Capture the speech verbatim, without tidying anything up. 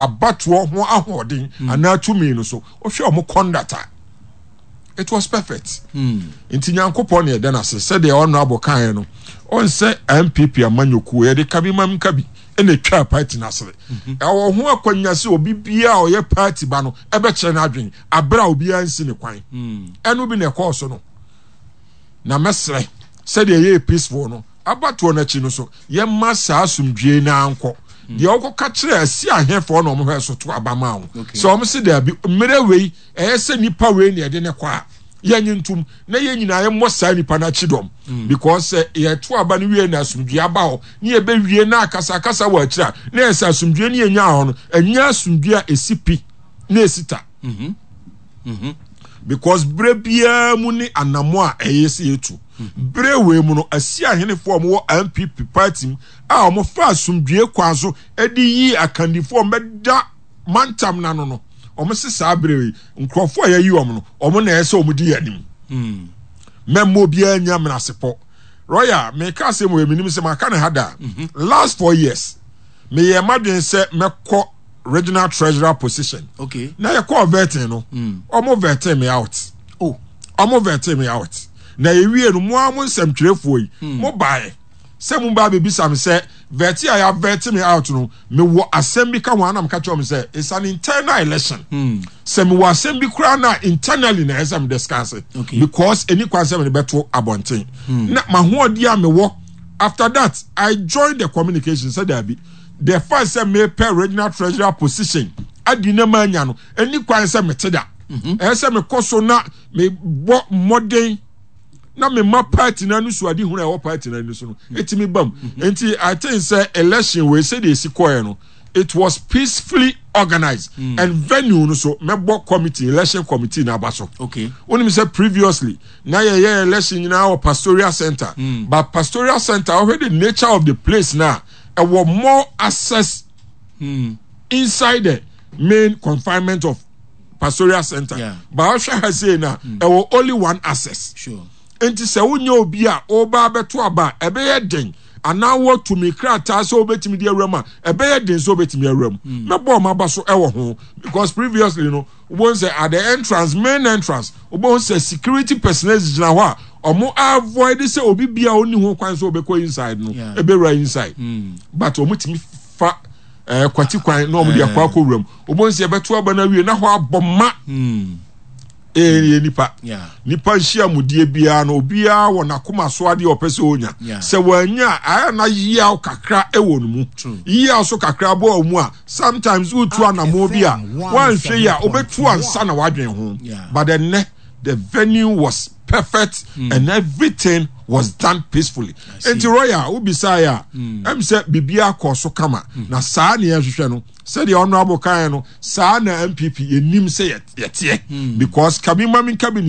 Abatoɔ ho ahoɔden anaa tumi no so, wohwɛ ɔmo conduct a, it was perfect. Nti Nyankopɔn ne ɛda n'ase. Sɛdeɛ ɔno abɔ kaeɛ no, ɔnsɛ N P P amanyɔkuo yɛde kabi mam kabi ɛna etwa party n'asere. Ɛwɔ ho akɔnya sɛ obi biara a ɔyɛ party ba no ɛbɛkyerɛ n'adwene abere a obiara nsi ne kwan. Ɛno bi na ɛkɔɔ so no. Na mɛsrɛ, sɛdeɛ ɛyɛ peaceful no, abatoɔ n'akyi no so, yɛma saa asomdwie naa nkɔ. Deɛ ɔkɔka kyerɛ asi ahɛfoɔ na ɔmo hwɛ so to aba ma wo sɛ ɔmo si daabi, mmerɛ wei ɛyɛ sɛ nipa wei na yɛde ne kɔ a, yɛnye ntum na yɛn nyinaa yɛmmɔ saa nipa no akyi dɔm, because sɛ yɛto aba no wie na asomdwie aba hɔ ne yɛbɛwie na akasakasa wɔ akyire a, na yɛ sɛ asomdwie ne yɛnya hɔ no, ɛnyɛ asomdwie a ɛsi pi na ɛsi ta, because berɛ biara mu ne anamo a ɛyɛ sɛ yɛtu. Berɛ wei mu no, asi ahenefoɔ a wɔwɔ N P P party mu a wɔfa asomdwie kwan so de yi akandifoɔ a wɔbɛda mantam n'ano no, wɔn se saa berɛ yi nkurɔfoɔ a yɛyi wɔn no, wɔn na ɛyɛ sɛ wɔn di yɛn anim. Mɛmma obiara nya menasepɔ. Royal, meka asɛm wɔ eminim sɛ maka ne ha da. Last four years meyɛ madwen sɛ mɛkɔ regional treasurer position. Okay. Na yɛkɔɔ vetting no, ɔmo vetting me out. Oh. Ɔmo vetting me out na yɛwie no, mo a mo nsɛmtwerɛfoɔ yi, mo baeɛ sɛ mo ba bebisa me sɛ vet a yɛ vet me out no, mewɔ asɛm bi ka ho. Anam ka kyerɛ mo sɛ it's an internal election, sɛ mewɔ asɛm bi koraa na internally na ɛsɛ me discuss it, Okay. because ɛni kwan sɛ mede bɛto abɔnten. Na mahoɔden a mewɔ, after that I joined the communication sɛ daabi, the fact sɛ mepɛ regional treasurer position adi ne ma anya no, ɛni kwan sɛ mete da. Ɛyɛ sɛ mekɔ so na mebɔ mmɔden na mema party no ani so ade hunu a ɛwɔ party no ani so no ɛtumi bam. Nti I think sɛ election wei, sɛdeɛ ɛsi kɔɛ no, it was peacefully organized mm. and venue no so, mɛbɔ committee, election committee na aba so. Okay wonim sɛ previously na yɛyɛ election nyinaa wɔ Pastoral Center mm. but Pastoral Center, ɔhwɛ the nature of the place na ɛwɔ more access mm. inside the main confinement of Pastoral Center, Yeah. but ɔhwɛ ha sei na ɛwɔ only one access. Sure nti sɛ wonyɛ obi a ɔba abɛto aba a, ɛbɛyɛ den, anaa wɔtumi krataa sɛ wobɛtumi de awura mu a, ɛbɛyɛ den sɛ wobɛtumi awura mu. Mɛbɔ ɔmo aba so ɛwɔ ho, because previously no, wobɛhu sɛ at the entrance, main entrance, wobɛhu sɛ security personnel gyina hɔ a ɔmo avoid sɛ obi bia ɔni ho kwan sɛ ɔbɛkɔ inside no Yeah. ɛbɛwura inside, but ɔmo tumi fa ɛɛ kwati kwan na ɔmo de akɔ akɔ wura mu. Wobɛhu sɛ yɛbɛto aba no awie na hɔ abɔ ma ɛyɛ nipa Yeah. nipa nhyiamudie biara no, obiara wɔ n'akoma so adeɛ a ɔpɛ sɛ ɔnya. Yeah. Sɛ wɔanya a, ayɛ na yiaw kakra ɛwɔ no mu. True. Yiaw so kakra bɔ wɔ mu a, sometimes wotu anammɔ bi a, woanhwɛ yi a, wobɛtu ansa na wadwen ho. Yeah. But ɛnɛ the venue was perfect and everything was done peacefully. See. Nti Royal, wobisaeɛ a, ɛm sɛ biribiara kɔ so kama na saa ne yɛhwehwɛ no. Sɛdeɛ ɔno abo kan no, saa na N P P yɛnim sɛ yɛ- yɛteɛ, because kabi ma mi nkabi ne.